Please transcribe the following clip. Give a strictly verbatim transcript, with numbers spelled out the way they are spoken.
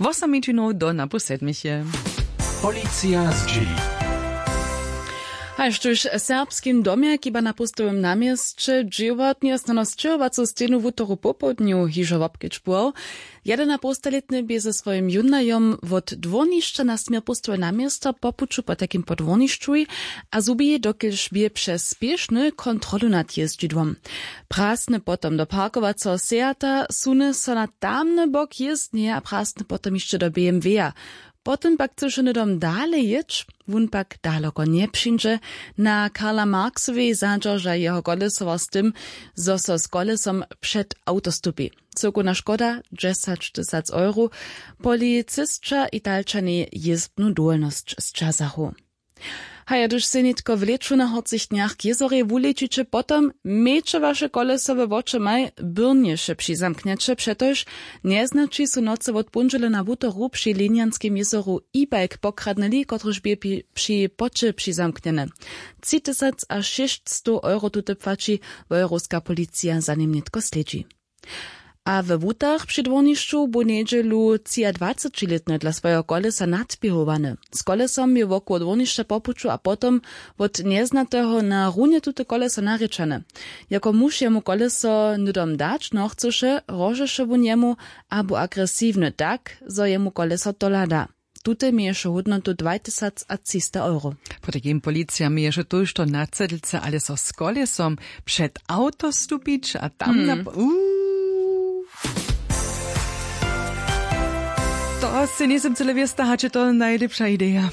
Wosom minutinow do napoł sedmich je. Policija zdźěli. Haž tuž w serbskim domje kiba na póstowym namjesće dźěłatnje snano sćěhowacu stejnu wutoru popołdnju hižo wobkedźbował. Jedenapółstalětny bě ze swojim jónajom wot dwórnišća na směr póstowe na město po puću potajkim po dwórnišćuj a zhubi, dokelž bě přez spěšny kontrolu nad jězdźidłom. Prasny potom do parkowaceho sejata, suny so na tamny bok jězdnje a prasny potom hišće do bmw-a. Potom pak chcyše hnydom dale jěć. Wón pak daloko njepřińdźe. Na karla marksowej zadźerža jeho kolesowa z tym, zo so z kolesom před awto stupi. Cyłkowna škoda dźesać tysac euro. Policisća italčanej jězbnu dowolnosć sćazachu. Haja hdyž sej nětko w lěću na horcich dnjach k jězorej wulěčiće potom, mějće waše kolesowe wočomaj, byrnješe přizamknjeće přetož njeznaći su nocy wot póndźele na wutoru při linjanskim jězoru e-bike pokradnyli kotryž bě pi- při poće přizamknjene. Tři tysac a šěsćstow euro tute płaći. Wojerowska policija za nim nětko slědźi. A we wutach při dwórnišću bu njedźelu třiadwacećilětny dla swojeho kolesa nadběhowany. Z kolesom je wokoło dwórnišća po puću a potom wot njeznateho na runje tute koleso narěčane. Jako muž jemu koleso hnydom dać nochcyše, hrožeše wón jemu, abo agresiwny tak, zo jemu koleso tola da. Tute měješe hódnotu dwajtysacatřista euro. Potajkim policija měješe tójšto na cedlce ale so z kolesom před awto stupić a tam na. Uuu. To sej njejsym cyle wěsta hač je to najlěpša ideja.